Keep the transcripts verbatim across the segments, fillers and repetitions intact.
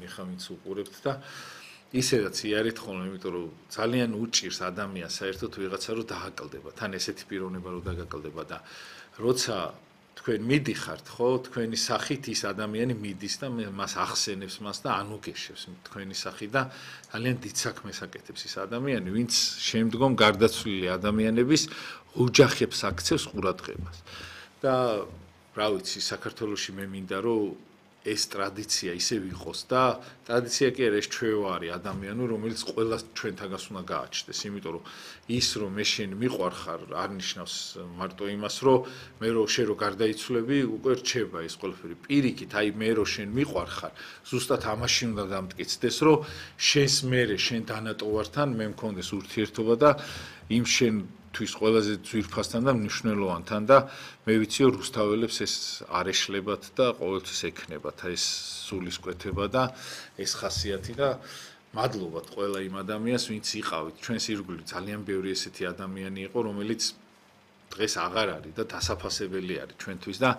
ადამიანი ხარ, ვინც უყურებთ და ისედაც იარეთ ხოლმე, იმიტომ რომ ძალიან უჭირს ადამიანს საერთოდ ვიღაცა რომ დააკლდება, თან ესეთი პიროვნება რომ დაგაკლდება და როცა თქვენ მიდიხართ, ხო, თქვენი სახით ის ადამიანი მიდის და მას ახსენებს მას და ანუგეშებს თქვენი სახით და ძალიან დიდ საქმეს აკეთებს ის ადამიანი, ვინც შემდგომ გარდაცვლილი ადამიანების ოჯახებს აქცევს ყურადღებას. და რა ვიცი, საქართველოში მე მინდა რომ ეს ტრადიცია ისე ვიყოს და ტრადიცია კი არა, ეს ჩვევა არის ადამიანური, რომელიც ყველას ჩვენთაგას უნდა გააჩნდეს, იმიტომ რომ ის რომ მე შენ მიყვარხარ არ ნიშნავს მარტო იმას, რომ მე რო შენ რო გარდაიცვლები, უკვე რჩება ეს ყველაფერი. პირიქით, აი მე რო შენ მიყვარხარ, ზუსტად ამაში უნდა დამტკიცდეს, რომ შენს მერე შენ დანატოვართან მე მქონდეს ურთიერთობა და იმ შენ თვის ყველაზე ძვირფასთან და მნიშვნელოვანთან და მე ვიცი რომ რუსთაველებს ეს არ ეშლებათ და ყოველთვის ექნებათ ეს სულისკვეთება და ეს ხასიათი და მადლობთ ყველა იმ ადამიანს ვინც იყავით ჩვენს ირგვლივ ძალიან ბევრი ესეთი ადამიანი იყო რომელიც დღეს აღარ არის და დასაფასებელი არის ჩვენთვის და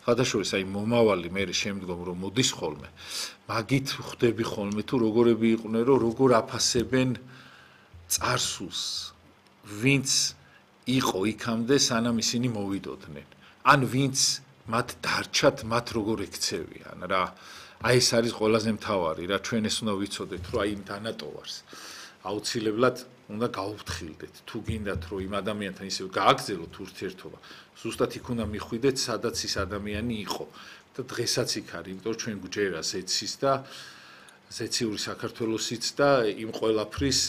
ხათაშორის აი მომავალი მე შემდგომ რომ მოდის ხოლმე მაგით ხვდები ხოლმე თუ როგორები იყვნენ რომ როგორ აფასებენ წარსულს ვინც იყო იქამდე სანამ ისინი მოვიდოდნენ ან ვინც მათ დარჩათ მათ როგორ ექცევიან რა აი ეს არის ყველაზე მთავარი რა ჩვენ ეს უნდა ვიცოდეთ რომ აი იმ დანატოვარს აუცილებლად უნდა გაუფრთხილდეთ თუ გინდათ რომ იმ ადამიანთან ისევ გააგრძელოთ ურთიერთობა ზუსტად იქ უნდა მიხვიდეთ სადაც ის ადამიანი იყო და დღესაც იქ არის იმიტომ რომ ჩვენ გვჯერა ზეცის და ზეციური საქართველოსიც და იმ ყველაფრის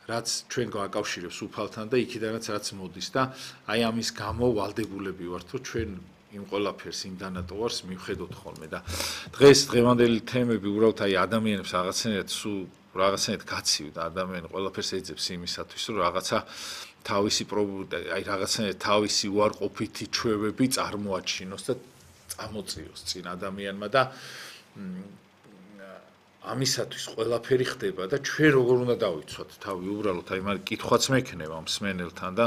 რაც ჩვენ გვაკავშირებს უფალთან და იქიდანაც რაც მოდის და აი ამის გამო ვალდებულები ვართ რომ ჩვენ იმ ყველაფერს იმ დანატოვარს მივხედოთ ხოლმე და დღეს დღევანდელი თემები უბრალოდ აი ადამიანებს რაღაცნაირად სულ რაღაცნაირად გაცივდა ადამიანი ყველაფერს ეძებს იმისათვის რომ რაღაცა თავისი აი რაღაცნაირად თავისი უარყოფითი ჩვევები წარმოაჩინოს და წამოწიოს წინ ადამიანმა და ამისათვის ყველაფერი ხდება და ჩვენ როგორ უნდა დავიცვათ თავი უბრალოდ აი მაგ კითხვაც მექნება მსმენელთან და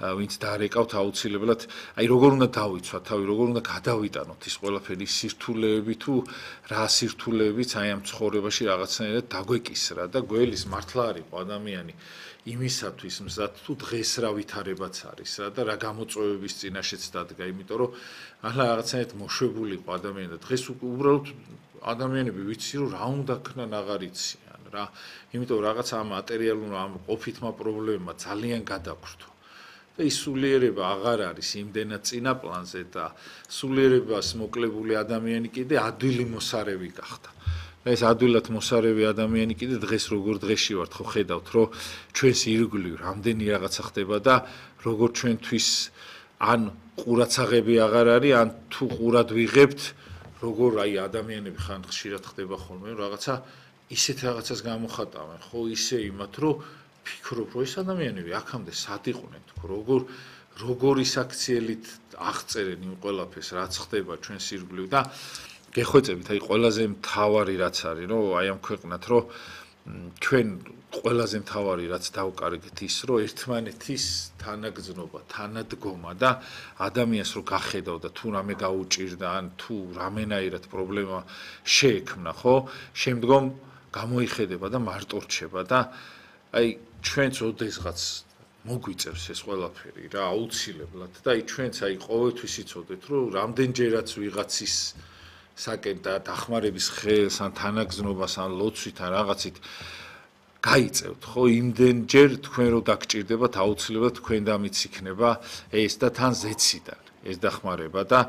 ვინც დაარეკავთ აუცილებლად აი როგორ უნდა დავიცვათ თავი როგორ უნდა გადავიტანოთ ის ყველაფერი სირთულეები თუ რა სირთულეებიც აი ამ ცხოვრებაში რაღაცნაირად დაგვეკისრა და გველის მართლა არისო ადამიანი იმისათვის მზად თუ დღეს რა ვითარებაც არის რა და რა გამოწვევების წინაშეც დადგა იმიტომ რომ ახლა რაღაცნაირად მოშვებული იყო ადამიანი და დღეს უბრალოდ ადამიანები ვიცი რომ რა უნდა ქნან აღარ იციან რა იმიტომ რომ რაღაცა ამ მატერიალურ ამ ყოფითმა პრობლემებმა ძალიან გადაგვრთო და ის სულიერება აღარ არის იმდენად წინა პლანზე და სულიერებას მოკლებული ადამიანი კიდე ადვილი მოსარევი გახდა და ეს ადვილად მოსარევი ადამიანი კიდე დღეს როგორ დღეში ვართ ხო ხედავთ რომ ჩვენს ირგვლივ რამდენი რაღაცა ხდება და როგორ ჩვენთვის ან ყურაცაღები აღარ არის ან თუ ყურად ვიღებთ როგორ აი ადამიანები ხან ხშირად ხდება ხოლმე რაღაცა ისეთ რაღაცას გამოხატავენ ხო ისე იმათ რომ ფიქრობ რომ ეს ადამიანები აქამდე სად იყვნენ თქო როგორ როგორი საქციელით აღწერენ იმ ყველაფერს რაც ხდება ჩვენს ირგვლივ და გეხვეწებით აი ყველაზე მთავარი რაც არის რომ აი ამ ქვეყნად რომ ჩვენ ყველაზე მთავარი რაც დავკარგეთ ის რომ ერთმანეთის თანაგზნობა, თანადგომა და ადამიანს რო გახედავ და თუ რამე გაუჭირდა ან თუ რამენაირად პრობლემა შეექმნა, ხო? შემდგომ გამოიხედება და მარტო რჩება და აი ჩვენც ოდესღაც მოგვიწევს ეს ყველაფერი რა აუცილებლად და აი ჩვენც აი ყოველთვის იცოდეთ რომ რამდენჯერაც ვიღაცის საკენ და დახმარების ხელს ან თანაგზნობას ან ლოცვით ან რაღაცით გაიწევთ ხო იმდენჯერ თქვენ რო დაგჭირდებათ აუცილებლად თქვენ დამიც იქნება ეს და თან ზეციდან ეს დახმარება და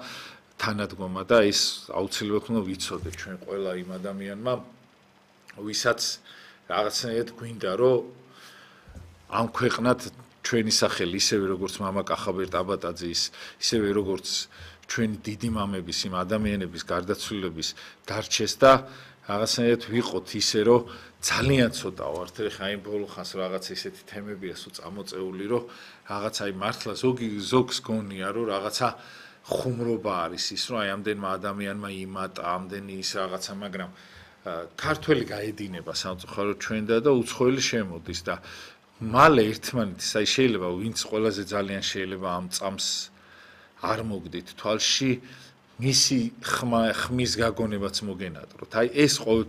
თანადგომა და ეს აუცილებლად უნდა ვიცოდეთ ჩვენ ყველა იმ ადამიანმა ვისაც რაღაცნაირად გვინდა რომ ამ ქვეყნად ჩვენი სახელი ისევე როგორც მამა კახაბერ ტაბატაძის ისევე როგორც ჩვენი დიდი მამების იმ ადამიანების გარდაცვლილების დარჩეს და რაღაცნაირად ვიყოთ ისე რომ ძალიან ცოტა ვართ ეხა იმ ბოლო ხანს რაღაც ესეთი თემებია სულ წამოწეული რომ რაღაც აი მართლა ზოგი ზოგს გონია რომ რაღაცა ხუმრობა არის ის რომ აი ამდენმა ადამიანმა იმატა ამდენი ის რაღაცა მაგრამ ქართველი გაედინება სამწუხაროდ ჩვენ და და უცხოელი შემოდის და მალე ერთმანეთის აი შეიძლება ვინც ყველაზე ძალიან შეიძლება ამ წამს არ მოგდით თვალში მისი ხმა ხმის გაგონებაც მოგენატროთ აი ეს ყოველთვის